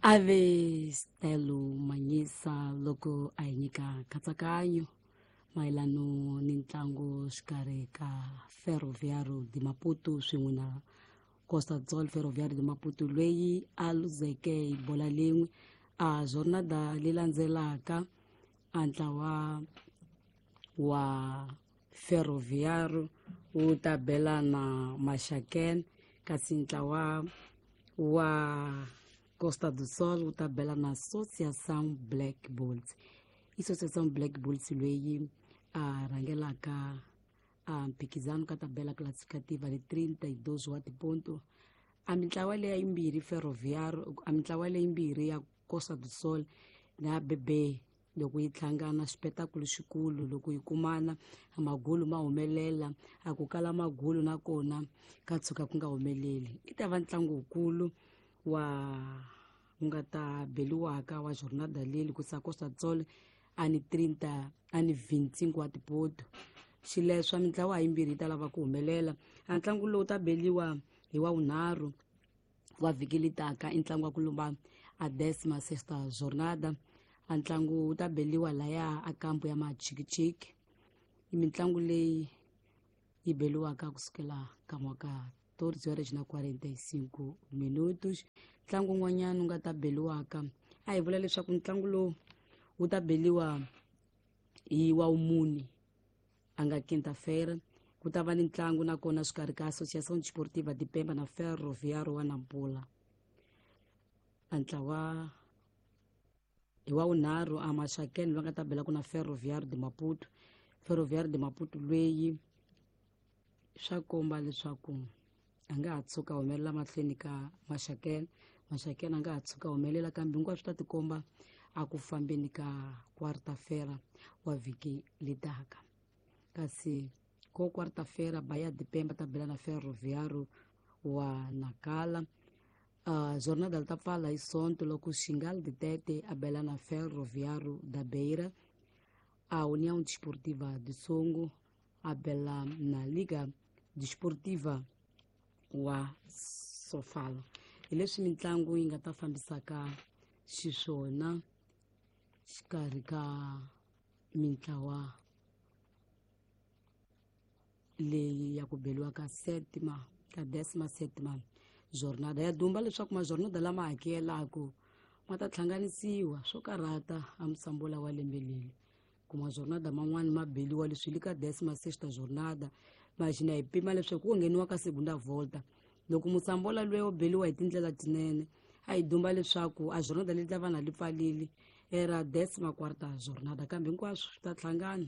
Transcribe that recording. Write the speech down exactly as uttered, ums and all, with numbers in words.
Ave Stelo Manyisa loko a hi nyika nkatsakanyo mayelano ni ntlangu xikarhi ka Ferroviário de Maputo swin'we na Costa do Sol. Ferroviário de Maputo loyi a luzeke hi bola lin'we a jornada leyi landzelaka, a ntlawa wa Ferroviário wu ta bela na Maxaquene, kasi ntlawa wa Costa do Sol wu ta bela na Associação Black Bulls. I Associação Black Bulls loyi a rhangelaka a mphikizano ka tabela classificativa ni trinta e dois wa tiponto. A mintlawa leya yimbirhi, Ferroviário, a mintlawa leyimbirhi ya Costa do Sol na B B, loko yi hlangana xipetakulu xikulu, loko yi kumana magulu ma humelela, a ku kala magulu nakona ka tshuka ku nga humeleli. I ta va ntlangu wukulu wa wu nga ta beliwaka wa jornada leyi ku Costa do Sol a ni trinta a ni vinte e cinco wa tipoto. Xileswa mintlawa yimbirhi yi ta lava ku humelela. A ntlangu lowu ta beliwa hi wa vunharhu wa vhiki litaka, i ntlangu wa ku lumba a décima sexta jornada. A ntlangu wu ta beliwa laya a kampu ya Machikichiki. I mitlangu leyi yi beliwaka kusukela ka mwaka catorze horas na quarenta e cinco minutos. Ntlangu wun'wanyana wu nga ta beliwaka, a hi vula leswaku ntlangu lowu wu ta beliwa hi wa wumune, a nga quinta-feira, ku ta va ni ntlangu nakona xikarhi ka Associação Desportiva de Pemba na Ferroviário wa Nampula. A ntlawa hi wa vunharhu, a Maxaquene va nga ta belaka na Ferroviário de Maputo. Ferroviário de Maputo loyi swa komba leswaku a nga ha tshuka humelela mahlweni ka Maxaquene, Maxaquene a nga ha tshuka humelela, kambe hinkwaswo swi ta tikomba a ku fambeni ka quarta-feira wa vhiki letaka. Kasi ko quarta-feira, Bahia de Pemba ta bela na Ferroviário wa Nacala. Uh, jornada li ta pfala hi Sonto loko Xingal de Tete a bela na Ferroviário da Beira, a União Desportiva de Songo a bela na Liga Desportiva wa Sofala. Hi leswi mitlangu yi nga ta fambisaka xiswona xikarhi ka mintlawa leyi ya ku beliwa ka sétima ka décima sétima jornada. Ya dumba leswaku majornada lama hakelaku ma ta hlanganisiwa swo karhata a musambola wa lembe leri ku majornada man'wani ma beliwa leswi li ka décima sexta jornada. Maxina hi pima leswaku ku ngheniwa ka segunda volta loko musambola luya wo beliwa hi tindlela tinene, a hi dumba leswaku a jornada leyi ta va na li pfalile era décima quarta jornada, kambe hinkwaswo swi ta hlangana.